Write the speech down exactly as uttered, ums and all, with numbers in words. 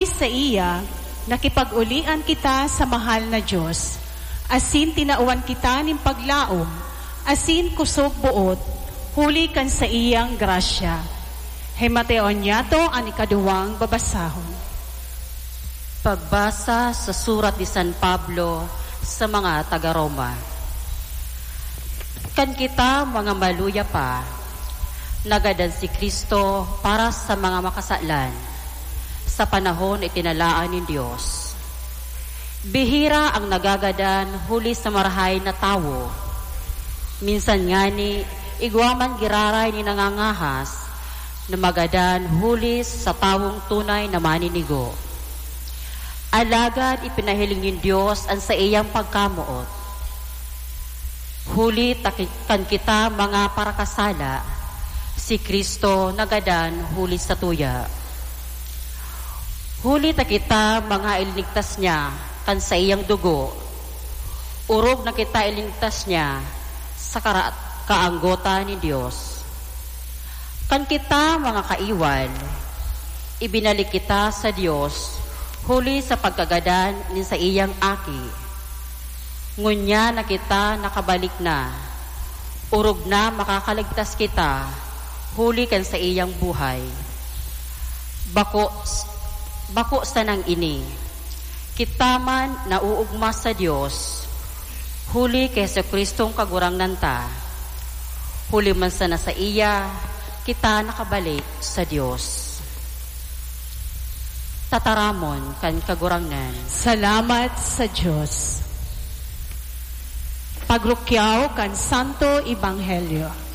Saiya, nakipag-ulian kita sa mahal na Dios, asin tinawan kita nin paglaom asin kusog boot huli kan saiyang grasya. Himateon niyato an ikaduwang babasahon. Pagbasa sa surat ni San Pablo sa mga taga Roma. Kan kita mga maluya pa, nagadan si Cristo para sa mga makasalan, sa panahon na itinalaan nin Dios. Bihira ang nagagadan huli sa marahay na tawo. Minsan ngani, igwa man giraray nin nangangahas na magadan huli sa tawong tunay na maninigo. Alagad ipinahiling nin Dios an saiyang pagkamoot. Huli ta ki-, kan kita mga parakasala, si Cristo nagadan huli sa tuya. Huli ta kita mga ilinigtas niya kan saiyang dugo, orog na kita ilinigtas niya sa kara-, kaanggotan nin Dios. Kan kita mga kaiwal, ibinalik kita sa Dios huli sa pagkagadan nin saiyang Aki. Ngunyan na kita nakabalik na, orog na makakaligtas kita huli kan saiyang buhay. Bako, bako sanang ini. Kita man nauugma sa Dios, huli ki Jesu-Cristong Kagurangnan ta. Huli man sana saiya, kita nakabalik sa Dios. Tataramon kan Kagurangnan. Salamat sa Dios. Pagrukyaw kan Santo Ebanghelyo.